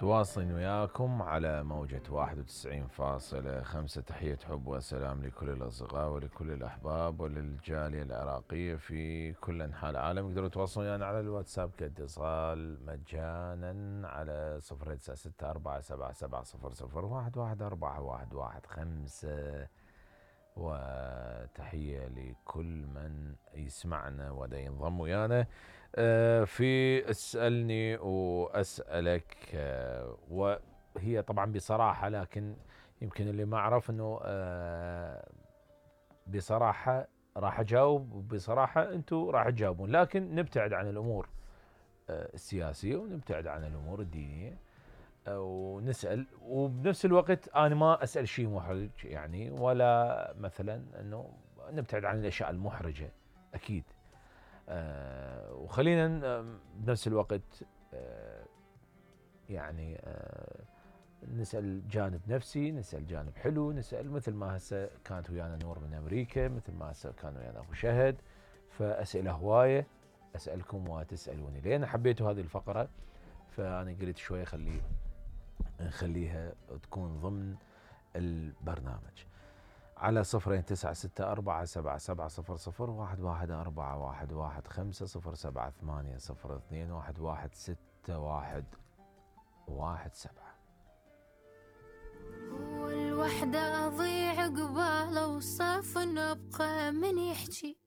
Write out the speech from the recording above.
تواصلين وياكم على موجة 91.5. تحية حب وسلام لكل الأصدقاء ولكل الأحباب وللجالية العراقية في كل أنحاء العالم. يقدروا يتواصلون يعني على الواتساب كاتصال مجانا على 09647700111415. وتحية لكل من يسمعنا ودا ينضم ويانا في اسألني وأسألك. وهي طبعا بصراحة، لكن يمكن اللي ما أعرف أنه بصراحة راح أجاوب، وبصراحة أنتم راح تجاوبون، لكن نبتعد عن الأمور السياسية ونبتعد عن الأمور الدينية ونسأل، وبنفس الوقت أنا ما أسأل شيء محرج يعني، ولا مثلا أنه نبتعد عن الأشياء المحرجة أكيد. وخلينا بنفس الوقت يعني نسأل جانب نفسي، نسأل جانب حلو، نسأل مثل ما هسه كانت ويانا نور من أمريكا، مثل ما هسه كان ويانا أبو شهد. فأسئلة هواية أسألكم وتسألوني. لأن حبيتوا هذه الفقرة فأنا قلت شوية نخليها تكون ضمن البرنامج على 02-964-777-014-118-02-1161-17. هو الوحدة أضيع قباله وصاف نبقى من يحكي